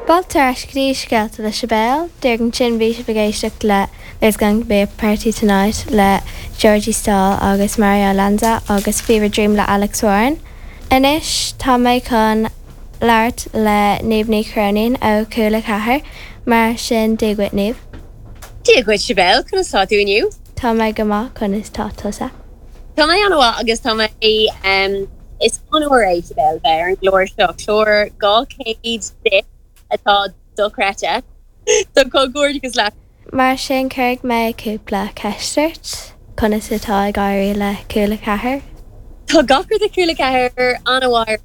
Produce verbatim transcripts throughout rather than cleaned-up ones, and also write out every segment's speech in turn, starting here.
Fáilte ar ais go dtí Scéalta le Sibéal, Díreach ansin bhí sibh ag éisteacht le There's Going to Be a Party Tonight le Georgie Stoll agus Mario Lanza agus Fever Dream le Alex Warren. Anois tá mé chun labhairt le Niamh Ní Chróinín ó Cúla Ceathair mar sin Dia dhuit Niamh. Dia dhuit Sibéal conas tá tú inniu? Tá mé go maith conas tá tusa. Tá mé an-mhaith agus tá mé um, is onóir é Sibéal bheith ar an gclár seo clár dhá chéad deich atá dochreidte so comhghairdeachas leat. Mar sin cuirfidh mé cúpla ceist ort conas atá ag éirí le Cúla Ceathair. Tá gach rud ag Cúla Ceathair an-mhaith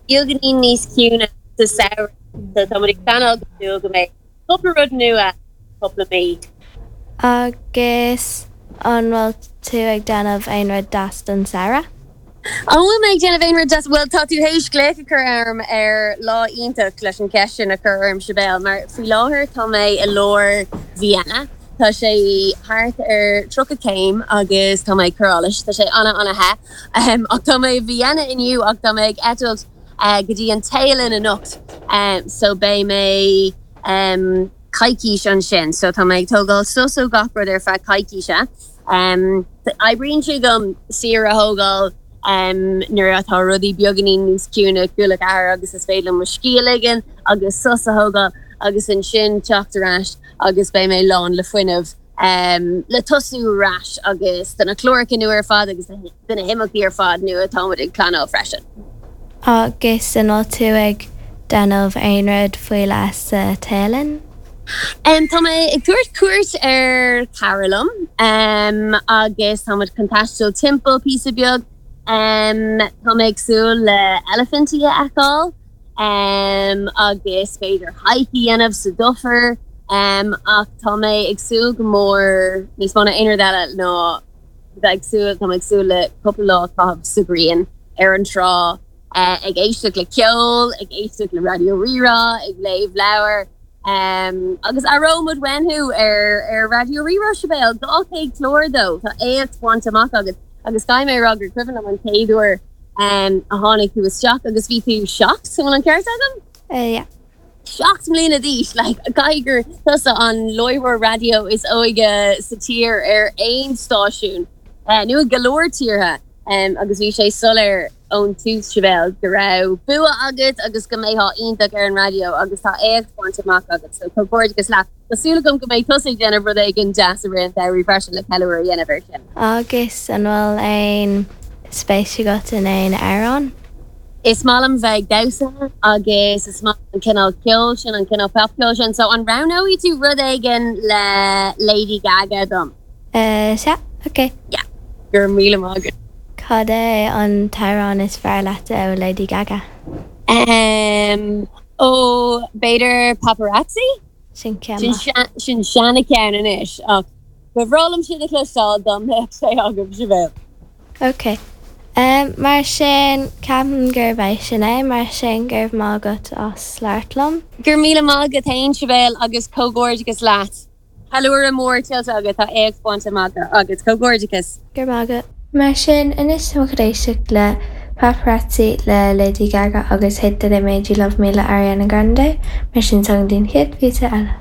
beagáinín níos ciúine sa samhradh so tá ag pleanáil go go mbeidh cúpla rud nua cúpla mí. Agus an bhfuil tú ag déanamh aon rud deas don samhradh? An bhfuil mé ag déanamh aon rud deas bhfuil tá tú théis glaoch a chur orm ar lá iontach leis an cheist sin a chur orm Sibéal, mar faoi láthair tá mé i lár Vienna. Tá sé thart ar tríocha céim agus tá mé choráis tá sé an- an-the um, ach tá mé Vienna inniu ach tá mé ag eitilt uh, go dtí an Téalainn anocht um, so beidh mé um, coicís ansin, so tá mé ag tógáil sos ó gach rud ar feadh coicíse. Um, Oibríonn sé dom saoire a thógáil um, nuair atá rudaí beagáinín níos ciúine Cúla Ceathair agus is féidir mo scíth a ligean agus sos a thógáil agus ansin teacht ar ais agus beidh mé lán le fuinneamh um, le tosú ar ais agus do na cláracha nua ar fad agus do na himeachtaí ar fad nua atáimid ag pleanáil freisin. Agus an bhfuil tú ag déanamh aon rud faoi leith sa Téalainn? Um, tá mé ag tabhairt cuairt ar chara liom um, agus táimid chun taisteal timpeall píosa beag um, Tá mé ag súil le eilifintí a fheiceáil um, agus b'fhéidir hike a dhéanamh sa dufair um, ach tá mé ag súil go mór níos mó ná aon rud eile ná bheith ag súil tá ag súil le cúpla lá caitheamh sa ghrian ar an trá uh, ag éisteacht le ceol, ag éisteacht le Raidió Rí-Rá, ag léamh leabhar. Um, agus aireoidh muid thú ar ar Raidió Rí-Rá Sibéal dhá chéad clár dó tá éacht bainte amach agus agus caithfidh mé rá gur cuimhin liom an chéad uair um, a tháinig tú isteach agus bhí tú seacht san an ceart agam? Uh, yeah. Seacht mbliana d'aois le gur tusa an láithreoir raidió is óige sa tír ar aon stáisiún uh, nó go leor tíortha um, agus bhí sé soiléir ón tús Sibéal go raibh bua agat agus go mbeifeá iontach ar an raidió agus tá éacht bainte amach agat so comhghairdeachas leat. Tá súil agam go mbeidh tusa ag déanamh rud éigin deas i rith an tsamhraidh freisin le ceiliúradh a dhéanamh air sin. Agus an bhfuil aon spéis agat in aon amhrán? Is maith liom bheith ag damhsa agus is maith an cineál ceoil sin an cineál popcheol sin, so an roghnóidh tú rud éigin le Lady Gaga dom. Uh, sea, ok. Yeah, gur míle maith. Cad é an t-amhrán is fearr leat ó Lady Gaga? Um, ó b'fhéidir Paparazzi? Sin Sin sin seancheann anois ach ba bhreá liom sin a chloisteáil dá mbeadh sé agam Sibéal. Ok. Um, mar sin ceapaim gurb é sin é mar sin go raibh maith agat as labhairt liom. Gur míle maith agat féin Sibéal agus comhghairdeachas leat. Ceiliúradh mór tuillte agat tá éacht bainte amach agus comhghairdeachas. Gur maith. Mar sin anois tá éisteacht le Paparazzi le Lady Gaga agus Hate That I Made You Love Me le Ariana Grande, mar sin san den chéad phíosa eile.